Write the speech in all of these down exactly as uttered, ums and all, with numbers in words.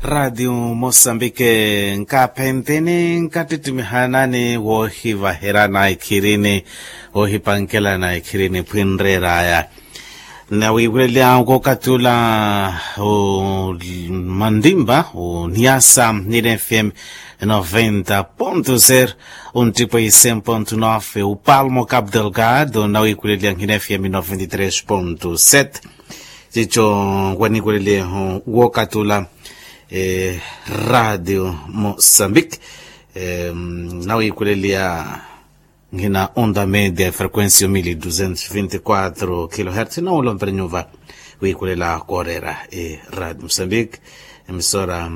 Raatiyo mosambike nkaaphenteni nkattittimihana ni woohivaherana ekhirini, woohipankelana ekhirini phwinreeraya. Nawiiwelelya kookathi ula, o mantimpa o niasa nina fm noventa ponto zero, onttipo isen ponto nove upalmo cap delgado nawiiwelelya nina fm noventa tres ponto sete. Cico waniiwelelye wookathi ula, raatiyo mosambike nawiiwelelya nkina onda media frequencia mil duzentos vinti quatro kilohertz nawolompela nyuva. Wiikulela kooreera eradio mosambike emisora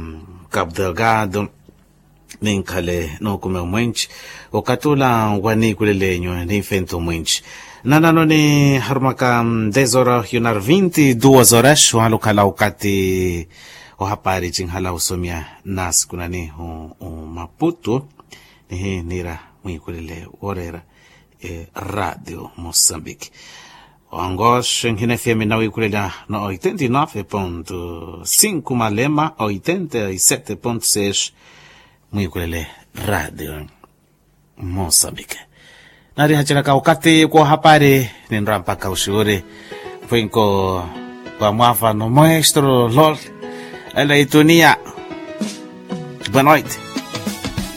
cap delgado. Ninkhale nookumi omwenci okathi ula waniikulelenyu ninfento omwenci. Nanano niharumaka dez horas yunar vinti duas horas wahala okhala okathi ohapari cinhala osomya nasikunani omaputu. Nihi niira mwiikulele wooreera eradio mosambiki. Ongoxe nhina efiyami nawiikulelya na oitenta e nove ponto cinco malema oitenta e sete ponto seis. Mwiikulele radio mosambiki. Narihacelaka okathi koohapari ninrwa mpakha oxiwuri. Mpwinko wa mwavano moestro lol. Ela itunia. Boa noite.